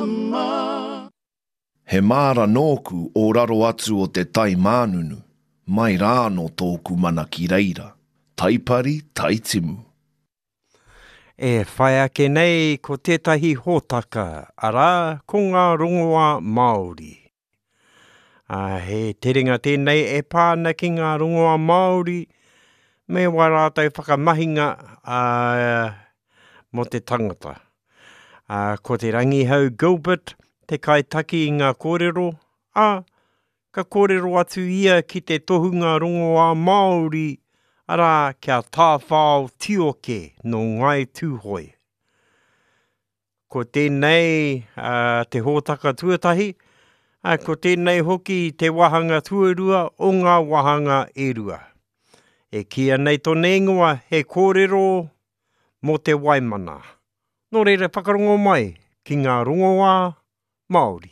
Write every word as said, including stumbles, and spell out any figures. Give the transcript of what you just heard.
Marama. He māra nōku o raro atu o te tai mānunu, mai rānō tōku mana ki reira, taipari, taitimu. E whai ake nei ko tētahi hōtaka, arā, ko ngā rongoā Māori. Ā, he terenga tēnei e pā ana ki ngā rongoā Māori me wā rātou whakamahinga ā, mō te tangata. Ā, ko Te Rangihau Gilbert te kaitaki i ngā kōrero, ā, ka kōrero atu ia ki te tohunga rongoā Māori, arā, ki a Tāwhao Tioke nō Ngāi Tūhoe. Ko tēnei ā, te hōtaka tuatahi, ā, ko tēnei hoki te wāhanga tuarua o ngā wāhanga e rua. E kīia nei tōna ingoa he kōrero mō te waimana. Nō reira whakarongo mai ki ngā rongoā Māori.